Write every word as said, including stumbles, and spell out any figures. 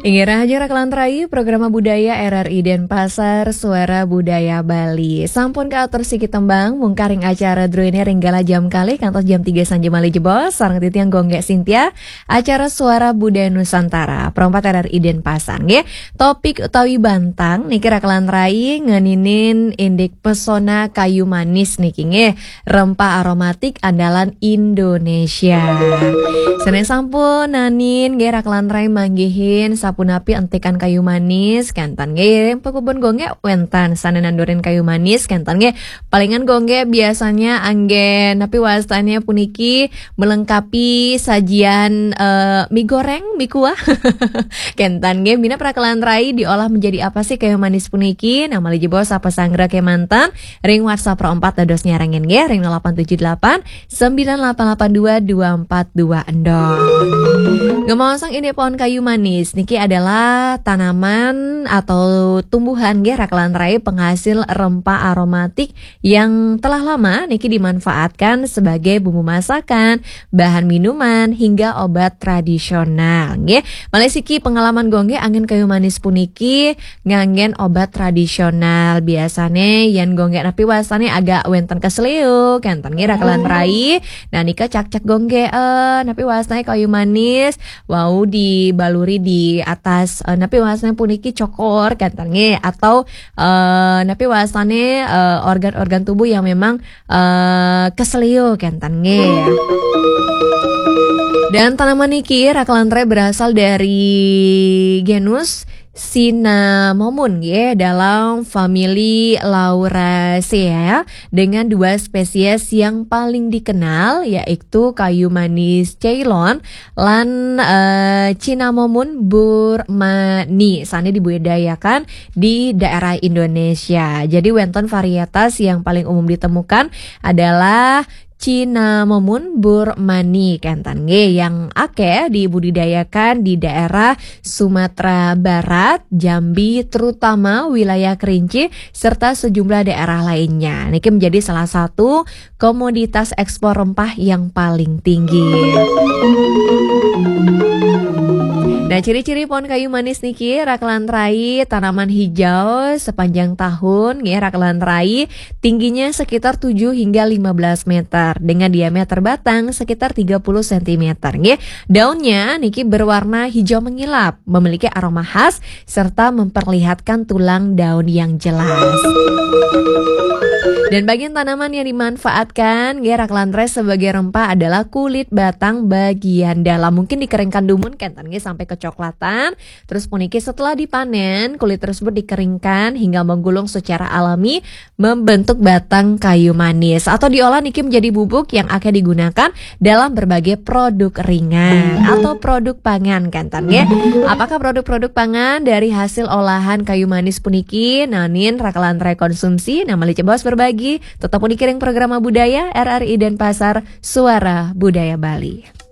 Inggih rahajeng rakelan rai, Programa Budaya R R I Denpasar, Suara Budaya Bali. Sampun kaatur siki tembang, mungkaring acara druene ring galah jam kalih kantos jam tiga sanja malih jebos, sareng titiang Gung Gek Sintia, acara Suara Budaya Nusantara, Pro empat R R I Denpasar, nggih. Topik utawi bantang niki rakelan rai ngeninin indik pesona kayu manis niki, nggih. Rempah aromatik andalan Indonesia. Sane sampun nanin nggih rakelan rai manggihin sapunapi entikan kayu manis, kenten nggih. Pakubun Gung Gek wenten sane nandurin kayu manis, kenten nggih. Palingan Gung Gek biasanya anggen napi wastane puniki melengkapi sajian, eh, mie goreng, mie kuah. Kenten nggih, minab rakelan rai diolah menjadi apa sih kayu manis puniki? Nah, malih jebos sapa sanggra kemanten ring WhatsApp Pro empat dados nyarengin nggih ring nol delapan tujuh delapan sembilan delapan delapan dua dua empat dua endong. Ngomong indik pohon kayu manis niki adalah tanaman atau tumbuhan nggih rakelan rai penghasil rempah aromatik yang telah lama niki dimanfaatkan sebagai bumbu masakan, bahan minuman, hingga obat tradisional nggih. Malih siki pengalaman Gung Gek anggen kayu manis puniki nganggen obat tradisional. Biasane yen Gung Gek napi wastane agak wenten keseleo, kenten nggih rakelan rai. Nah, nika cak-cak Gung Gek, eh, napi wastane kayu manis wau dibaluri di atas, eh, napi wastane puniki cokor, kenten nggih, atau, eh, napi wastane, eh, organ-organ tubuh yang memang, eh, keseleo, kenten nggih. Dan tanaman niki rakelan rai berasal dari genus Cinnamomum, ya, dalam famili Lauraceae, dengan dua spesies yang paling dikenal, yaitu kayu manis Ceylon lan, eh, Cinnamomum burmani. Sane dibudidayakan di daerah Indonesia. Jadi wenten varietas yang paling umum ditemukan adalah Cinnamomum burmani, kenten nggih, yang akeh dibudidayakan di daerah Sumatera Barat, Jambi, terutama wilayah Kerinci, serta sejumlah daerah lainnya. Niki menjadi salah satu komoditas ekspor rempah yang paling tinggi. Nah, ciri-ciri pohon kayu manis niki, rakelan rai, tanaman hijau sepanjang tahun, nggih, rakelan rai, tingginya sekitar tujuh hingga lima belas meter, dengan diameter batang sekitar tiga puluh sentimeter, nggih. Daunnya niki berwarna hijau mengilap, memiliki aroma khas, serta memperlihatkan tulang daun yang jelas. Dan bagian tanaman yang dimanfaatkan, nggih, rakelan rai, sebagai rempah adalah kulit batang bagian dalam. Mungkin dikeringkan dumun, kenten nggih, sampai kecoklatan. Terus puniki setelah dipanen, kulit tersebut dikeringkan hingga menggulung secara alami, membentuk batang kayu manis. Atau diolah niki menjadi bubuk yang akan digunakan dalam berbagai produk ringan atau produk pangan, kenten nggih. Apakah produk-produk pangan dari hasil olahan kayu manis puniki nanin rakelan rai konsumsi? Nah, malih jebos berbagi, tetap dikiring Programa Budaya R R I Denpasar, Suara Budaya Bali.